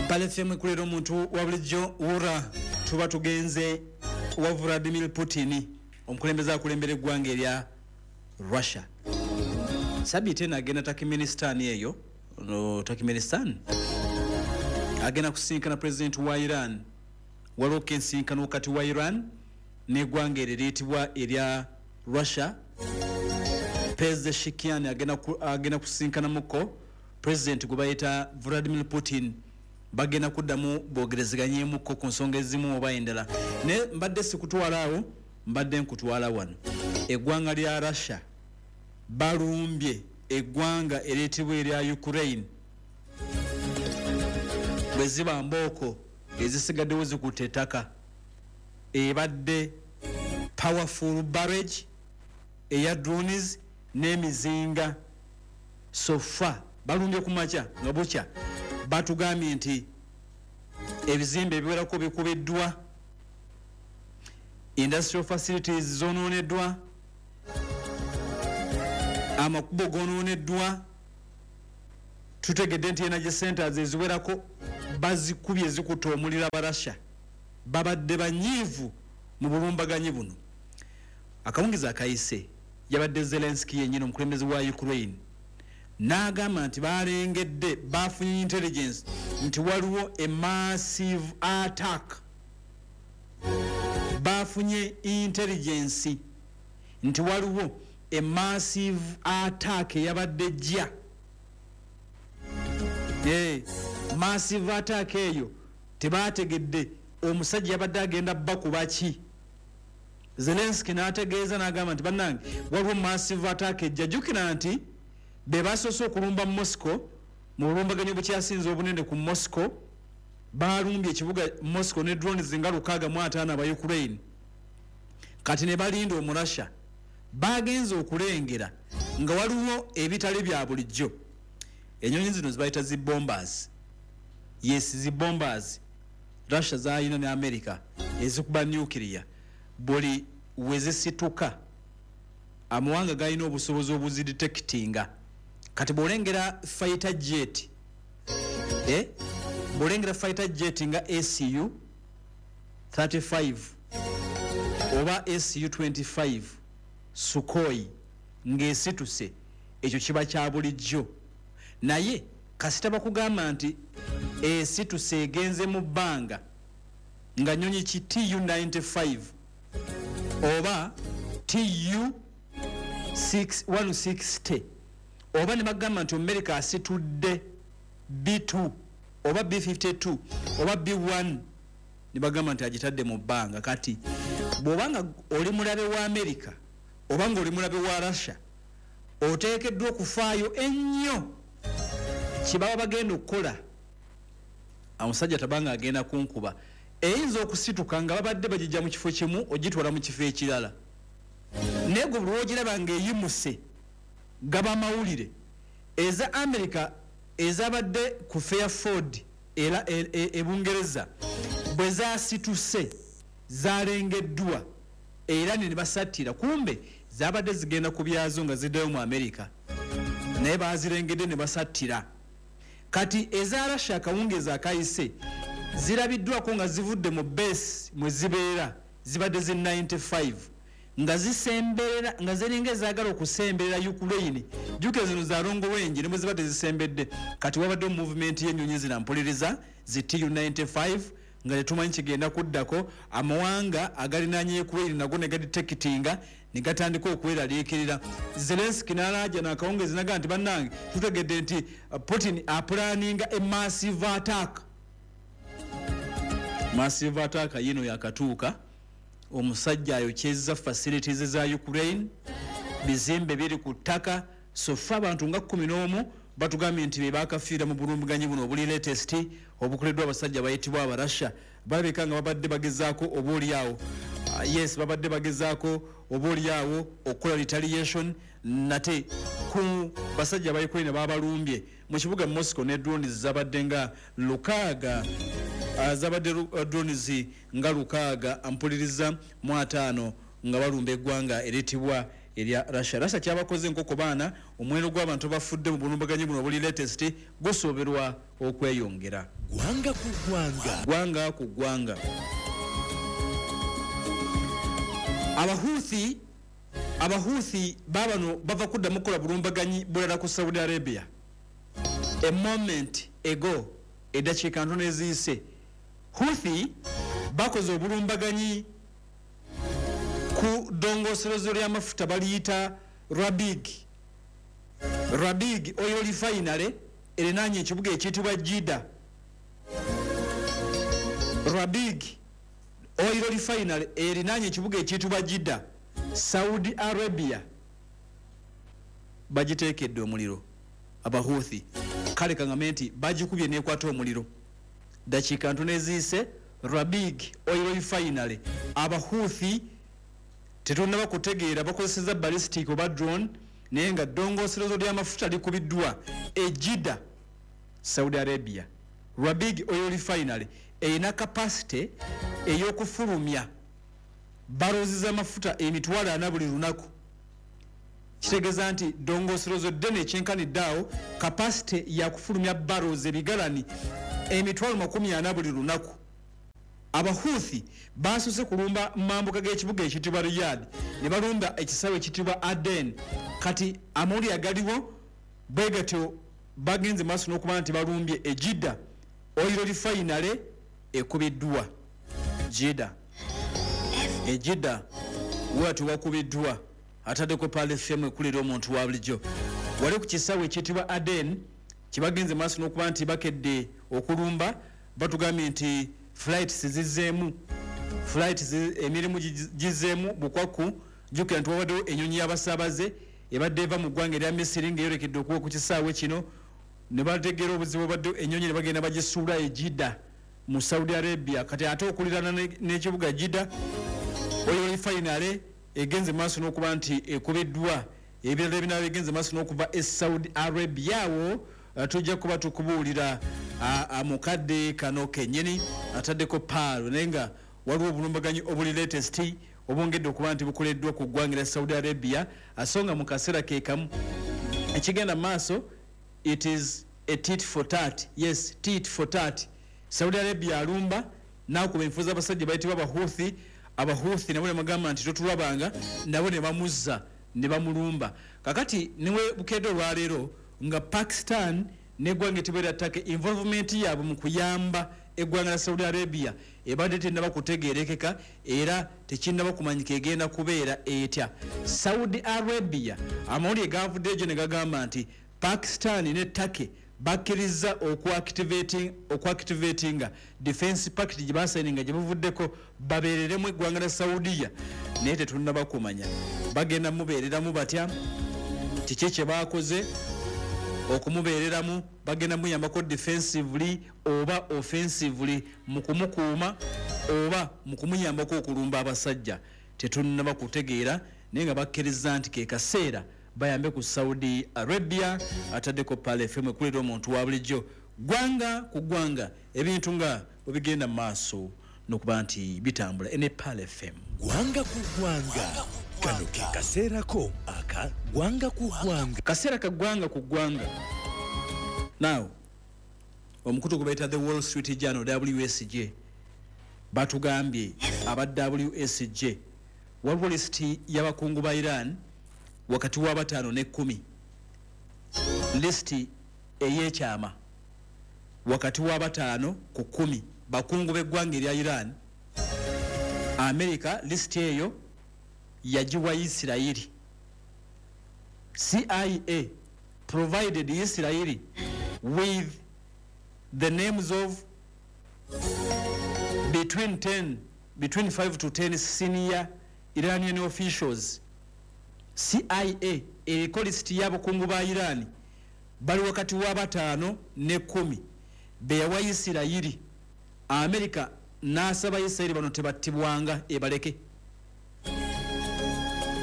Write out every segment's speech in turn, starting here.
Mpale FM ekulera omuntu wa bulijjo. Wura tuba tugenze wa Vladimir Putin, omukulembeze akulembera eggwanga erya Russia. Sabiiti eno agenda Turkmenistan eyo, no, Turkmenistan agenda kusinkana president wa Iran. Waliwo kensinkano wakati wa Iran n'eggwanga eryo eriyitibwa erya Russia. Pezeshkian agenda kusinkanamuko president gwe bayita Vladimir Putin, bagenda kuddamu boogerezeganyemukko ku nsonga ezimu oba endala. Naye mbadde sikutwala awo, mbadde nkutwala wano. Eggwanga lya Russia balumbye eggwanga eriyitibwa erya Ukraine. Bwe ziba mbooko ezisigaddewo zikutte ettaka, ebadde powerful barrage eya drones n'emizinga. So far balumbye ku makya nga bukya, batugambye nti ebizimbe ebiwerako bikubiddwa, industrial facilities zonooneddwa, amakubo gonooneddwa. Tutegedde nti energy centers eziwerako bazikubye zikutta omuliro. Abarasha babadde banyiivu mu bulumbaganyi buno. Akawungizi akayise yabadde Zelenski yennyini, omukulembeze wa Ukraine, n'agamba nti balengedde, bafunye intelligence nti waliwo a massive attack. Bafunye intelligence nti waliwo a massive attack eyabadde ejja. Massive attack eyo tebategedde omusajja yabadde agenda bakuba ki. Zelenski n'ategeeza n'agamba nti bannange, waliwo massive attack ejja. Jjukira nti be basoose okulumba Moscow mu bulumbaganyi obukyasinze obunene ku Moscow. Balumbye ekibuga Moscow ne drones nga 650 aba Ukraine. Kati ne balinda Omurasha, bagenze okulengera nga waliwo ebitali bya bulijjo. Enyonyi zino zibayita zi bombers, yes, zi bombers Russia zayina ne America ezikuba nuclear. Buli wezisituka amawanga galina obusobozi obuzidetectinga. Kati bwolengera fighter jet, bwolengera fighter jet nga Su 35 oba Su 25 Sukhoi ng'esituse, ekyo kiba kya bulijjo. Naye kasita bakugamba nti esituse egenze mu bbanga nga nyonyi ki Tu 95 oba Tu 160, oba ne bagamba nti America asitudde B2 oba B52 oba B1, ne bagamba nti agitadde mu bbanga, kati bw'obanga oli mulabe wa America oba nga oli mulabe wa Russia, oteekeddwa okufaayo ennyo kyebaba bagenda okukola. Omusajja tabanga agenda kunkuba, eyinza okusituka nga babadde bagijja mu kifo kimu ogitwala mu kifo ekirala. Naye gwe buli wogiraba ng'eyimuse, gaba mawulire. Eza America ezabadde ku Fairford era e Bungereza bwe zasituse zalengeddwa era ne basattira. Kumbe zabadde zigenda ku byazo nga ziddayo mu America, naye bazirengedde ne basattira. Kati eza Russia akawungeezi akayise zirabiddwako nga zivudde mu base mwe zibeera, zibadde zi 95, nga zisemberera, nga ziringa ezaagala okusemberera Ukraine. Jjukira zino za long range, ne bwe ziba tezisembedde. Kati wabadde movement y'ennyonyi zina mpuliriza zi Tu 95 nga tetumanyi kigenda kuddako. Amawanga agalinaanye Ukraine nago ne gadetectinga ne gatandika okweraliikirira. Zelenski n'alaaja n'akawungezi naga nti bannange, tutegedde nti Putin aplanninga a massive attack. Massive attack yino yakatuuka. Omusajja ayokyezza facilities za Ukraine, bizimbe biri ku ttaka. So far abantu nga 11 batugambye nti be bakafiira mu bulumbuganyi buno obuli latest obukoleddwa abasajja bayitibwa Abarasha. Balabika nga babadde bagezaako oba oliawo, yes, babadde bagezaako oba oliawo okukola retaliation nate ku basajja ba Ukraine babalumbye mu kibuga Moscow ne drones zabadde nga 6, zabadde drones nga 650 nga balumba eggwanga eritibwa erya Russia. Russia kyabakoze enkoko baana. Omuwendo gw'abantu bafudde mu bulumbaganyi buno obuli latest gusuubirwa okweyongera. Gwanga ku gwanga. Gwanga ku gwanga. Abahuthi babano bava kuddamu kukola bulumbaganyi bulala ku Saudi Arabia. A moment ago, eddakiika ntono eziyise, Houthi bakoze obulumbaganyi ku ddongooserezo ly'amafuta baliyita Rabigh. Rabigh Oil Refinery erinaanye ekibuga ekiyitibwa Jeddah. Rabigh Oil Refinery erinaanye ekibuga ekiyitibwa Jeddah, Saudi Arabia. Bagiteekedde omuliro Abahuthi. Kale kaŋŋambe nti bagikubye n'ekwata omuliro. Dakiika ntono eziyise, Rabigh Oil Refinery, Abahuthi tetunnaba kutegeera bakozesezza ballistic oba drone, naye nga ddongooserezo ly'amafuta likubiddwa e Jeddah, Saudi Arabia. Rabigh Oil Refinery erina capacity ey'okufulumya barrels z'amafuta 40,000 buli lunaku. Kitegeeza nti ddongooserezo ddene ekyenkanidde awo, capacity yakufulumya barrels ebigalani 40,000 buli lunaku. Abahuthi basoose kulumba mambuka g'ekibuga ekiyitibwa Riyadh, ne balumba ekisaawe ekiyitibwa Aden. Kati amawulire agaliwo bwe gatyo bagenze maaso n'okuba nti balumbye e Jeddah. Oil Refinery ekubiddwa Jeddah. E Jeddah wati wakubiddwa. Ataddeko Pearl FM ekulira omuntu wa bulijjo. Wali ku kisaawe ekiyitibwa Aden kibagenze maaso n'okuba nti bakedde okulumba. Batugambye nti flights zizzeemu, flights emirimu gizzeemu bukwaku. Jjukira nti wabaddewo ennyonyi y'abasaabaze ebadde eva mu ggwanga erya Misiri ng'eyolekedde okuwa ku kisaawe kino, ne bategeera obuzibu obadde ennyonyi ne bagenda bagisuula e Jeddah mu Saudi Arabia. Kati ate okuliraana n'ekibuga Jeddah, Oil Refinery egenze maaso n'okuba nti ekubiddwa. Ebirala ebinaaba bigenze maaso n'okuva e Saudi Arabia awo tujja kuba tukubuulira mukadde kano kennyini. Ataddeko Pearl, naye nga waliwo obulumbaganyi obuli latest obwongedde okuba nti bukoleddwa ku ggwanga lya Saudi Arabia. So nga mu kaseera ke kamu ekigenda mu maaso, it is a tit for tat. Yes, tit for tat. Saudi Arabia alumba n'akuba enfu z'abasajja bayitibwa Abahuthi. Abahuthi nabo ne bagamba nti totulabanga, nabo ne bamuzza ne bamulumba. Kakati niwe bukedde olwaleero nga Pakistan n'eggwanga etibwa Turkey, involvement yaabwe mu kuyamba eggwanga lya Saudi Arabia ebadde tennaba kutegeerekeka era tekinnaba kumanyika egenda kubeera etya. Saudi Arabia amawulire gavudde egyo ne gagamba nti Pakistan ne Turkey bakkiriza okuactivatinga defense pact gye basayininga gye buvuddeko, babeereremu eggwanga lya Saudiya, naye tetunnaba kumanya bagenda mubeereramu batya, kiki kye baakoze okumubeereramu, bagenda muyambako defensively oba offensively mu kumukuuma oba mu kumuyambako okulumba abasajja, tetunnaba kutegeera, naye nga bakkiriza nti ke kaseera bayambe ku Saudi Arabia. Ataddeko Pearl FM ekulira omuntu wa bulijjo. Gwanga ku gwanga, ebintu nga bwe bigenda mu maaso n'okuba nti bitambula ene Pearl FM. Gwanga ku gwanga, kano ke kaseerako aka gwanga ku gwanga. Kaseera ka gwanga ku gwanga. Now omukutu gwe bayita The Wall Street Journal, WSJ, batugambye aba WSJ waliwo lisiti y'abakungu ba Iran wakati wa 5 ne 10, lisiti ey'ekyama wakati wa 5 ku 10 bakungu b'eggwanga erya Iran. America lisiti eyo yagiwa Isirayiri. CIA provided Israel with the names of between 5 to 10 senior Iranian officials. CIA eriko lisiti y'abakungu ba Iran bali wakati wa 5 ne 10 beyawa Isirayiri. America n'asaba Isirayiri bano tebattibwanga, ebaleke.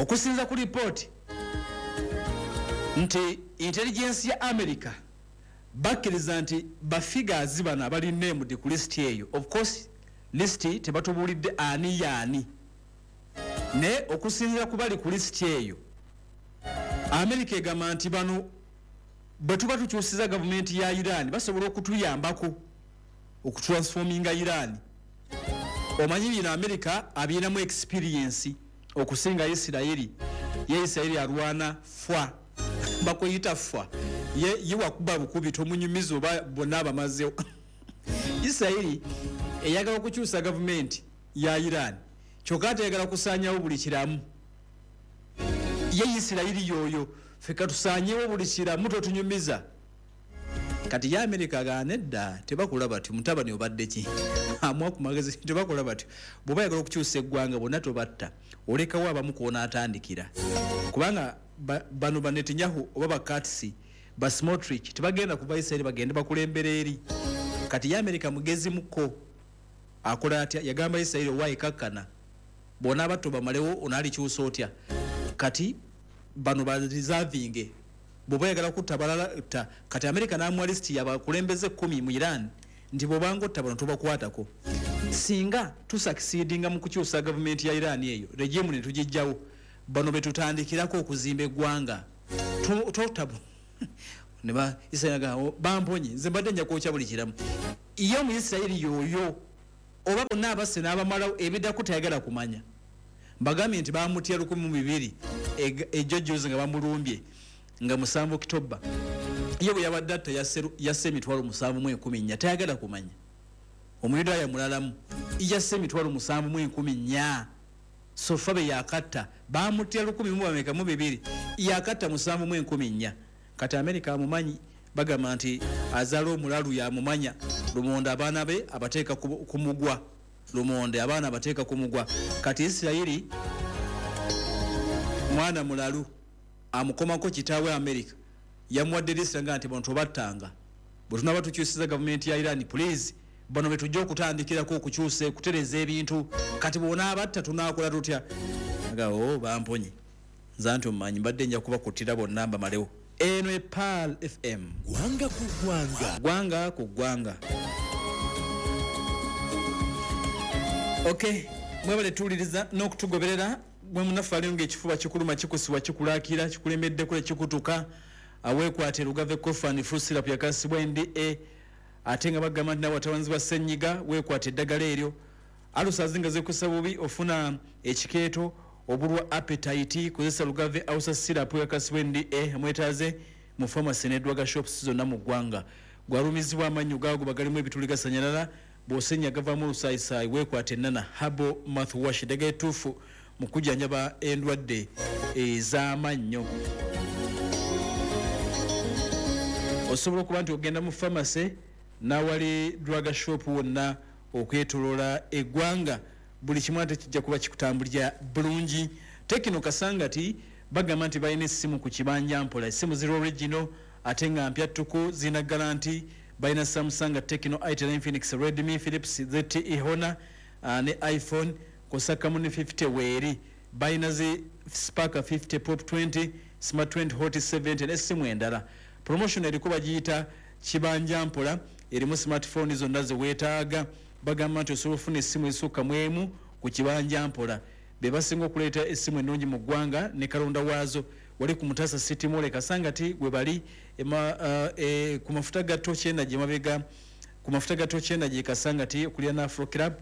Okusinza ku lipooti nti intelligence ya America bakkiriza nti bafigures bano abali named ku lisiti eyo, of course lisiti tebatubuulidde ani yaani, naye okusinziira ku bali ku lisiti eyo, America egamba nti bano bwe tuba tukyusiza gavumenti ya Iran basobola okutuyambako. Okutransforminga Iran. Omanyi bino America abirinamu experience okusinga Isirayiri. Ye Isirayiri alwana fwa, bakuyita fwa, ye wakuba bukubi, tomunyumiza oba bonna abamazeewo. Isirayiri eyagala okukyusa gavumenti ya Iran, kyokka ate eyagala kusaanyawo buli kiramu. Ye Isirayiri yoyo, ffe katusaanyewo buli kiramu, totunyumiza. Kati ye Amerika agaana, nedda, tebakola batyo. Mutabani obadde ki? Amuwa ku magezi, tebakola batyo. Bw'oba oyagala okukyusa eggwanga, bonna tobatta, olekawo abamu kwonaatandikira, kubanga bano ba Netanyahu oba ba Katz, ba Smotrich tebagenda kuva Isirayiri bagende bakulembera eri. Kati ye Amerika mugezi muko, akola atya? Yagamba Isirayiri, owaayi kakkana, bw'onaaba bamalewo onaalikyusa otya? Kati bano bareservinge, bw'oba oyagala kutta balala tta. Kati Amerika n'amuwa lisiti yabakulembeze 10 mu Iran nti bw'obanga otta bano tobakwatako. Singa tusucceedinga mu kukyusa gavumenti ya Iran eyo, regime ne tugijjawo, bano betutandikirako okuzimba eggwanga. Totabu ne ba Isirayiri agamba, "Bamponye, nze mbadde nja kwokya buli kiramu." Ye mu Isirayiri yoyo oba bonna abasse n'abamalawo, ebiddako tayagala kumanya. Mbagambye nti bamutya 2000 ejjo juzi nga bamulumbye nga 7 Okitoba. Ye bwe yabadde atta yasse 7,014, tayagala kumanya. Omuyudaaya mulalamu yasse 7,014 so far be yakatta. Bamutya lukumi mu bameka mu bibiri, yakatta 7,014. Kati Amerika amumanyi, bagamba nti azaala omulalu yamumanya. Lumonde abaana be abateeka ku mugwa, lumonde abaana abateeka ku mugwa. Kati Isirayiri mwana mulalu amukomako kitaawe Amerika yamuwadde lisita nga nti bano tobattanga, bwe tunaba tukyusiza gavumenti ya Iran, please, bano betujja okutandikirako okukyusa, okutereza ebintu. Kati bwonaabatta tunaakola tutya? Aga, o bamponye, nze nti omumanyi mbadde nja kubakuttira bonna mbamalewo. Eno e Pearl FM. Gwanga ku gwanga. Gwanga ku ggwanga. Ok, mwebale tuwuliriza n'okutugoberera. Gwe munaffe aliyo ngaekifuba kikuluma, kikusibwa, kikulakira, kikulemeddeko, ekikutuka, aweekwate Lugave Cough and Flu Syrup yakasibwa NDA. Ate nga bagamba nti nawe atawanzibwa ssenyiga, weekwate eddagala eryo. Ulcers nga zikusa bubi, ofuna ekikeeto, obulwa appetite, kozesa Lugave Ulcer Syrup yakasibwa NDA. Mwetaaze mu pharmacy ne drug shops zonna mu ggwanga. Gwalumizibwa amannyo gaago bagalimu ebituli gasanyalala, bw'osenya gavaamu olusayisaayi, weekwata Enana Herbal Mouthwash, eddagala ettuufu mu kujjanjaba endwadde ez'amannyo. Osobola okuba nti ogenda mu pharmacy n'awali drug shop wonna okwetoloola eggwanga, buli kimu ate kijja kuba kikutambulira bulungi. Tecno Kasangati bagamba nti balina essimu ku kibanja mpola, essimu ziri original ate nga mpya ttuku, zirina guarantee. Balina Samsung, Tecno, Itel, Infinix, Redmi, Philips, ZTE, Honor ne iPhone kw'ossa Camon 50 weeri. Balina zi Spark 50, Pop 20, Smart 20, Hot 70 n'essimu endala. Promotion eriko bagiyita kibanja mpola, erimu smartphone zonna zeweetaaga. Bagamba nti osobola okufuna essimu ezisukka mu emu ku kibanja mpola. Be basinga okuleeta essimu ennungi mu ggwanga ne kalonda waazo. Wali ku Mutasa City Mall e Kasangati we bali ku mafuta ga Tokyena gye mabega, ku mafuta ga Tokyena gye Kasangati okulira Afro Club.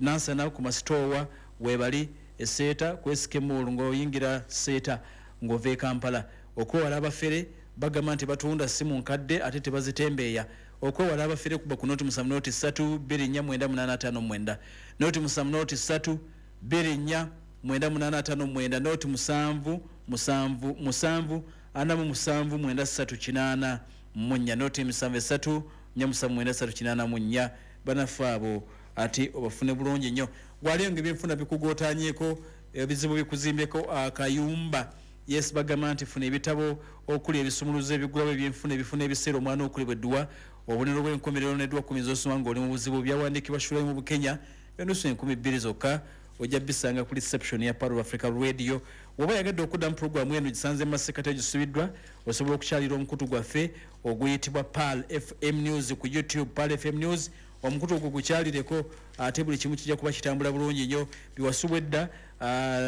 Nansana ku masitoowa webali, eseeta kwesika emall ng'oyingira Seeta ng'ova e Kampala. Okwewala abafere, bagamba nti batunda simu nkadde ate tebazitembeeya. Okwewala abafere, kuba ku 070 324 9859, 070 324 9859, 077 777 4793 84, 073 479 384. Banaffe abo ate obafune bulungi nnyo. Gwaliyo nga ebyenfuna bikugootanyeko, ebizibu bikuzimbyeko akayumba, yes, bagamba nti funa ebitabo okuli ebisumuluzo ebigulawo ebyenfuna, ebifuna ebiseera, omwana okulibwa edduwa, obubonero bw'enkomerero n'edduwa 10 z'osoma ng'oli mu buzibu. Byawandiikibwa Shulayi mu Bukenya, enusu 2000 zokka. Ojja bisanga ku reception ya Pearl of Africa Radio. Woba yagadde okuddamu puroguramu eno gisanze mu masekati egisubiddwa, osobola okukyalira omukutu gwaffe oguyitibwa Pearl FM News ku YouTube, Pearl FM News. Omukutu ogwo gukyalireko ate buli kimu kijja kuba kitambula bulungi nnyo. Biwasubwa edda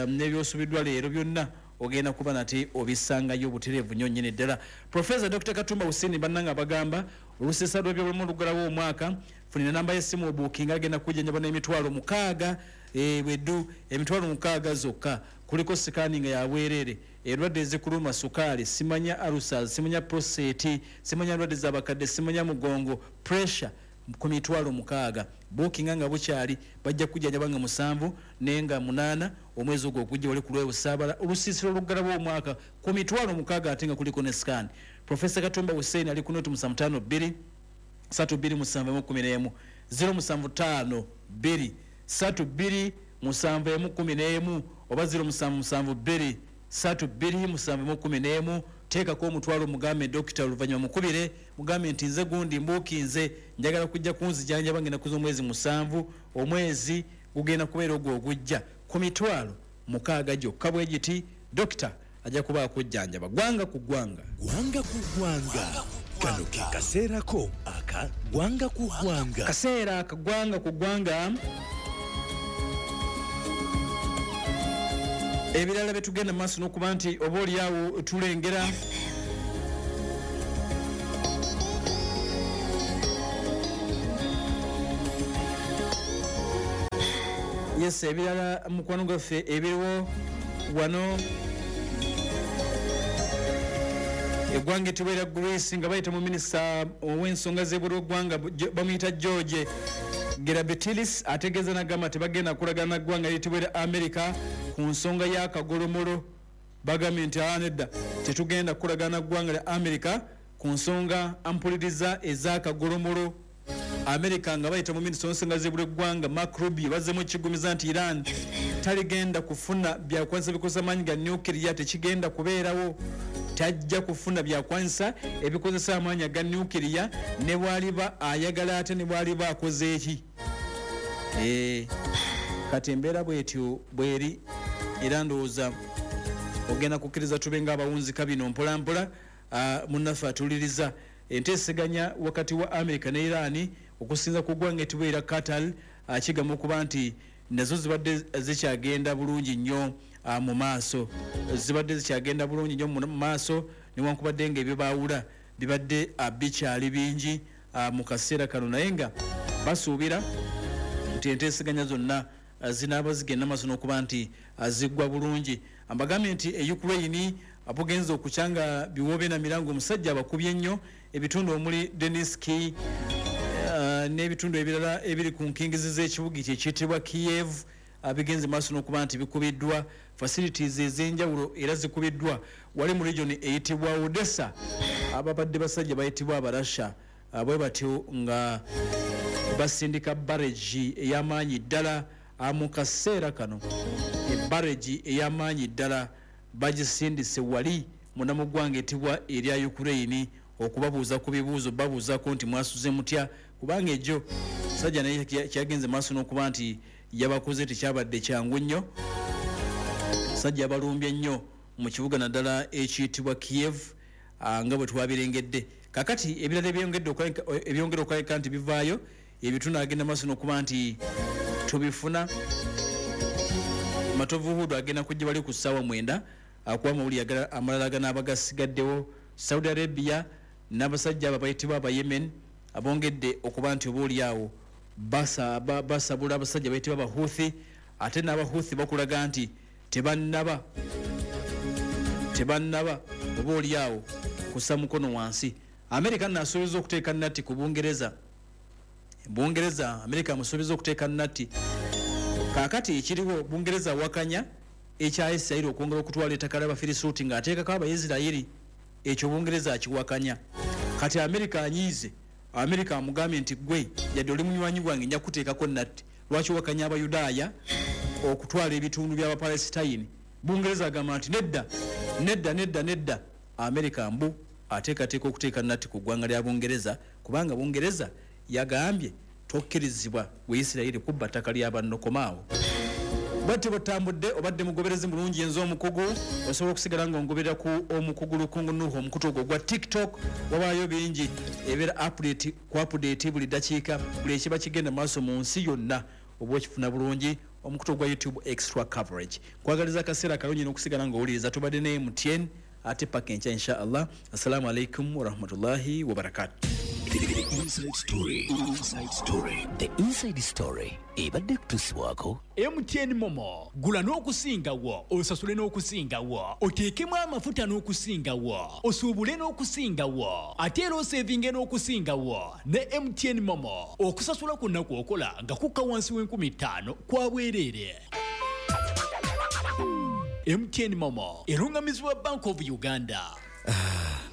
n'ebyosubiddwa leero byonna ogenda kuba nate obisangayo butereevu nnyo nnyini ddala. Profesa Dr Katumba Hussein bannanga bagamba Olusiisira lw'ebyobulamu oluggalawo omwaka, funira namba y'essimu obuukinga, agenda kujjanjaba n'emitwalo 6 bweddu, emitwalo 6 zokka. Kuliko sikaani nga yabwereere, endwadde ezikuluma, sukaali, simanya ulcers, simanya prostate, simanya ndwadde z'abakadde, simanya mugongo, pressure, ku mitwalo 6. Buukinga nga bukyali, bajja kujjanjaba nga 7 naye nga 8 omwezi ogwo ogujja wali ku lw'Obusaabala. Olusiisira oluggalawo omwaka ku mitwalo 6 ate nga kuliko ne sikaani. Profesa Katumba Hussein ali ku noti 752 32 711, 0752 32 711 oba 0772 32 711. Teekako omutwalo, mugambe dokita, oluvannyuma mukubire mugambe nti nze gundi mbuukinze, njagala kujja kunzijanjaba ngenda kuza omwezi 7, omwezi gugenda kubeera ogwo ogujja ku mitwalo 6 gyokka bwe giti. Dokita ajja kuba akujjanjaba. Ggwanga ku ggwanga. Ggwanga ku ggwanga. Kano ke kaseerako aka ggwanga ku ggwanga. Kaseera aka ggwanga ku ggwanga. Ebirala bye tugenda mu maaso n'okuba nti oba oliawo tulengera yes, ebirala mukwano gwaffe ebiriwo wano eggwanga etibwera Greece nga bayita mu minisita ow'ensonga z'ebweru w'eggwanga bamuyita George Gerabetilis, ategeeza n'agamba tebagenda kulagana na ggwanga eritibwera America ku nsonga y'akagolomolo. Bagambye nti nedda, tetugenda kulagana na ggwanga lya America ku nsonga ampuliriza ez'akagolomolo. America nga bayita mu minisita w'ensonga z'ebweru w'eggwanga Mark Rubio bazzemu ekigumiza nti Iran taligenda kufuna byakwanyisa bikozesa amaanyi ga nuclear, tekigenda kubeerawo, tajja kufuna byakwanyisa ebikozesa amaanyi aga nuclear ne bw'aliba ayagala ate ne bw'aliba akoze eki. Kati embeera bwetyo bweri, era ndowooza ogenda kukkiriza tube ng'abawunzika bino mpola mpola. Munnaffe atuliriza enteeseganya wakati wa America ne Iran okusinza ku ggwanga etibwera Qatar, kigamba okuba nti nazo zibadde zikyagenda bulungi nnyo mu maaso, zibadde zikyagenda bulungi nnyo mu maaso newankubadde ng'ebyo bibadde bikyali bingi mu kaseera kano, naye nga basuubira nti enteeseganya zonna zinaaba zigenda maaso n'okuba nti ziggwa bulungi. Mbagambye nti e Ukraine bugenze okukyanga biwoobe na mirango, omusajja abakubye nnyo ebitundu omuli Donetsk n'ebitundu ebirala ebiri ku nkingizi z'ekibuga ekyo ekiyitibwa Kiev, bigenze maaso n'okuba nti bikubiddwa, facilities ez'enjawulo era zikubiddwa wali mu region eyitibwa Odessa. Ababadde basajja bayitibwa Abarasha bwe batyo nga basindika barrage ey'amaanyi ddala mu kaseera kano. Barrage ey'amaanyi ddala bagisindise wali munda mu ggwanga etibwa erya Ukraine okubabuuza ku bibuuzo, babuuzaako nti mwasuze mutya, kubanga ejjo sajja naye kyagenze maaso n'okuba nti yabakoze tekyabadde kyangu nnyo. Sajja abalumbye nnyo mu kibuga naddala ekiyitibwa Kiev nga bwe twabirengedde. Kakati ebirala ebyongedde okulabika nti bivaayo ebitundu agenda maaso n'okuba nti tubifuna. Matovu Hudu agenda kujja wali ku ssaawa 9 akuwa amawulire amalala ganaaba gasigaddewo. Saudi Arabia n'abasajja abo abayitibwa aba Yemen abongedde okuba nti oba oliawo basabula abasajja bayitibwa Abahuthi, ate n'Abahuthi bakulaga nti tebannaba oba oliawo kussa mukono wansi. Amerika nasuubiza okuteeka natti ku Bungereza. Bungereza Amerika amusuubiza okuteeka natti. Kaakati ekiriwo Bungereza awakanya ekya Isirayiri okwongera okutwala ettaka ly'Abafirisuuti ng'ateekako Abayisirayiri, ekyo Bungereza akiwakanya. Kati Amerika anyiize, Amerika amugambye nti gwe yadde oli munywanyi gwange nja kuteekako natti, lwaki owakanya Abayudaaya okutwala ebitundu by'Abapalesitayini? Bungereza agamba nti nedda nedda nedda nedda. Amerika mbu ateekateeka okuteeka natti ku ggwanga lya Bungereza, kubanga Bungereza yagambye tokkirizibwa gwe Isirayiri kubba ttaka lya banno, komaawo. Bwatyo bwetambudde, obadde mugoberezi mulungi enze omukugu, osobola okusigala ng'ongoberera ku omukugu Lukungu Nuhu, omukutu ogwo gwa TikTok wabaayo bingi ebeera update ku update buli ddakiika, buli ekiba kigenda maaso mu nsi yonna oba okifuna bulungi. Omukutu ogwa YouTube extra coverage. Nkwagaliza akaseera akalungi n'okusigala ng'owuliriza. Tubadde ne MTN ate paka enkya insha Allah. Assalamu alaikum warahmatullahi wabarakatuh. The Inside Story. Inside Story. The Inside Story. Ebadde kutuusibwako MTN Momo, gula n'okusingawo, osasule n'okusingawo, oteekemu amafuta n'okusingawo, osuubule n'okusingawo, ate era osevinge n'okusingawo ne MTN Momo. Okusasula kwonna kw'okola nga kukka wansi w'5,000 kwa bwereere. MTN Momo erungamizibwa Bank of Uganda.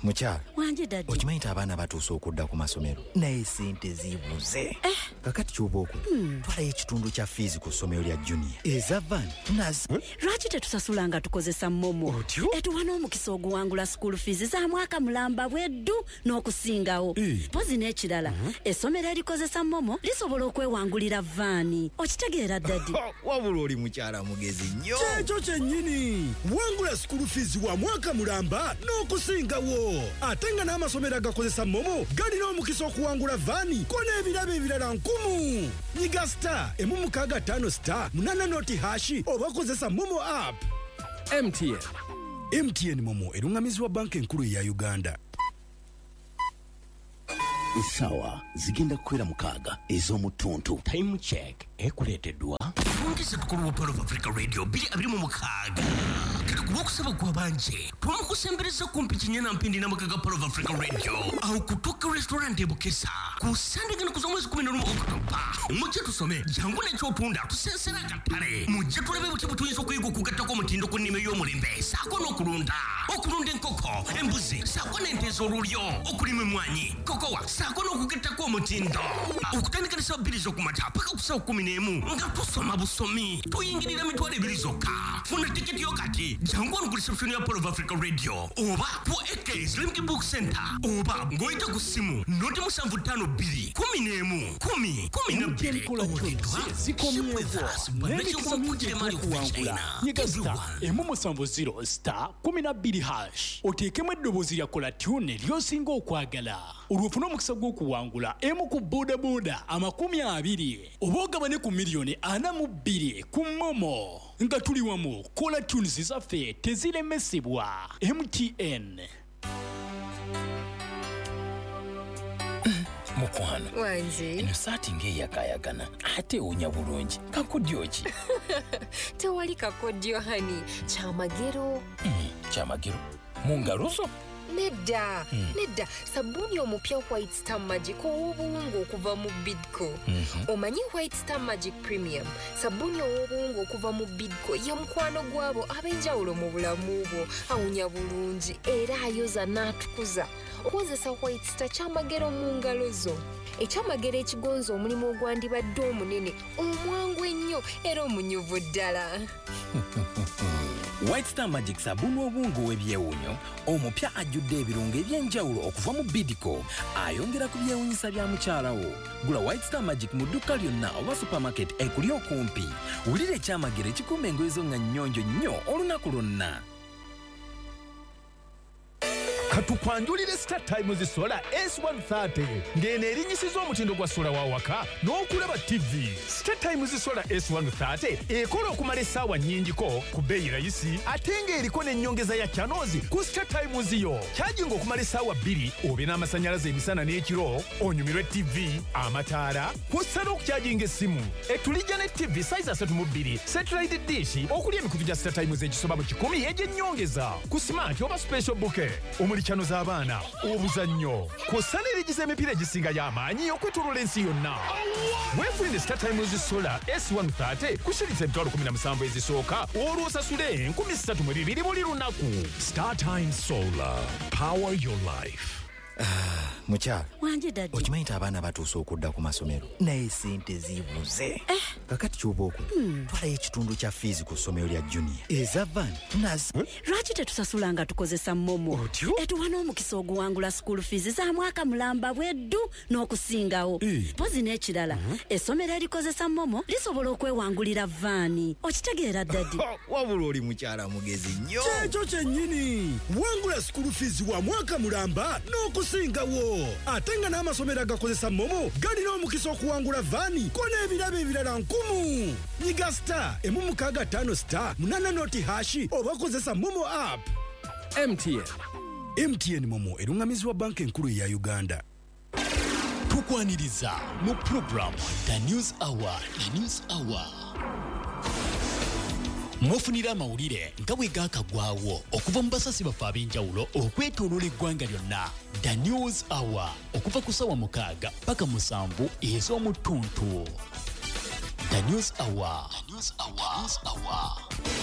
Mukyala Wanje daddy. Okimanyi nti abaana batuuse okudda ku masomero, naye sente zibuze. Kakati kyoba okola, twalayo ekitundu kya fiizi ku ssomero lya Junior, eza van tunazi. Lwaki tetusasula nga tukozesa Momo? Otyo? Etuwa n'omukisa oguwangula school fees za mwaka mulamba bweddu n'okusingawo. Mpozi n'ekirala, essomero erikozesa Momo lisobola okwewangulira vaani. Okitegeera, daddy? Wabula oli mukyala mugezi nnyo. Kyekyo kyennyini. Wangula school fees wa mwaka mulamba n'okusingawo, ate nga n'amasomero agakozesa Momo galina omukisa okuwangula vaani ko n'ebirabo ebirala nkumu. Nyiga *165*8 nought# oba kozesa Momo app. MTN. MTN Momo erungamizibwa Banka Enkulu eya Uganda. Essaawa zigenda kukwera 6 ez'omu ttuntu. Time Check ekuleeteddwa Fungisa tukulu wa Pearl of Africa Radio 2026. Kati ku lwokusaba gwabanje twamukusembereza kumpi kinyana mpindi n'amaka ga Pearl of Africa Radio awo ku Tokyo Restaurant e Bukesa ku Sande gano kuza omwezi 11 Okutoba. Mujje tusome, jangu n'ekyotunda, tusensera akatale. Mujje tulabe butya bwe tuyinza okuyiga okugattako omutindo ku nnima ey'omulembe saako n'okulunda, okulunda enkoko, embuzi saako n'ente ez'olulyo, okulima emmwanyi, kokowa saako n'okugattako omutindo. Okutandika ne ssaawa 2 z'okumakya paka ku ssaawa 11 nga tusoma busomi, tuyingirira 20,000 zokka. Funa tiketi yo kati, jangu wano ku reception ya Pearl of Africa Radio oba ku AK's Limited Book Center oba ng'oyita ku ssimu 075 2 11 10 12. Kola tunes zikomyewo n'emikisa mingi egy'okuwangula. Nyiga *170*12# oteekemu eddoboozi lya caller tune ly'osinga okwagala, olwo ofune omukisa gw'okuwangula emu ku bodaboda 20 oba ogabane ku miliyoni 42 ku Momo. Nga tuli wamu, caller tunes zaffe teziremesebwa. MTN. Mukwano. Wangi. Eno saati ng'eyakaayakana ate ewunya bulungi, kakodyo ki? Tewali kakodyo, honey, kyamagero. Kyamagero mu ngalo zo? Nedda, nedda, sabbuuni omupya White Star Magic ow'obuwunga okuva mu Bidco. Omanyi White Star Magic Premium, sabbuuni ow'obuwunga okuva mu Bidco, ye mukwano gwabo ab'enjawulo mu bulamu bwo. Awunya bulungi era ayoza n'atukuza. Okozesa White Star, kyamagero mu ngalo zo, ekyamagero ekigonza omulimu ogwandibadde omunene, omwangu ennyo era omunyuvu ddala. White Star Magic, sabbuuni obuwunga ow'ebyewuunyo omupya ajjudde ebirungo eby'enjawulo okuva mu Bidco, ayongera ku byewuunyisa bya mukyala wo. Gula White Star Magic mu dduuka lyonna oba supermarket ekuli okumpi. Wulira ekyamagero ekikuuma engoye zo nga nnyonjo nnyo olunaku lwonna. Katukwanjulire Star Times Solar S130, ng'eno erinyisiza omutindo gwa solar wa waka n'okulaba TV. Star Times Solar S130 ekola okumala essaawa nnyingiko ku bbeeyi rayisi, ate ng'eriko n'ennyongeza ya channels ku Star Times yo. Kyajinga okumala essaawa 2 obe n'amasannyalaze emisana n'ekiro, onyumirwe TV, amataala, kw'ossa n'okukyajinga essimu. Etulijja ne TV size 32, satellite dish okuli emikutu gya Star Times egisoba mu 100 egy'ennyongeza ku smart oba special bouquet, omuli channel z'abaana, obuzannyo, kw'ossa n'erigiza emipiira egisingayo amaanyi okwetooloola ensi yonna. Weefunire Star Times Solar S130 ku shilingi 17,000 ezisooka, olwo osasule 3,200 buli lunaku. Star Times Solar. Power your life. Mukyala. Wanje daddy. Okimanyi nti abaana batuuse okudda ku masomero, naye sente zibuze. Kakati kyoba okola, twalayo ekitundu kya fiizi ku ssomero lya Junior, eza van tunazi. Lwaki tetusasula nga tukozesa Momo? Otyo? Etuwa n'omukisa oguwangula school fees za mwaka mulamba bweddu n'okusingawo. Mpozi n'ekirala, essomero erikozesa Momo lisobola okwewangulira vaani. Okitegeera, daddy? Wabula oli mukyala mugezi nnyo. Kyekyo kyennyini. Wangula school fees wa mwaka mulamba n'okusingawo, ate nga n'amasomero agakozesa Momo galina omukisa okuwangula vaani ko n'ebirabo ebirala nkumu. Nyiga *165*8 nought# oba kozesa Momo app. MTN. MTN Momo erungamizibwa Banka Enkulu eya Uganda. Tukwaniriza mu program The News Hour. The News Hour mwofunira amawulire nga bwe gaakagwawo okuva mu basasi baffe ab'enjawulo okwetooloola eggwanga lyonna. The News Hour okuva ku ssaawa 6 paka 7 ez'omu ttuntu. The News Hour. The News Hour. The News Hour.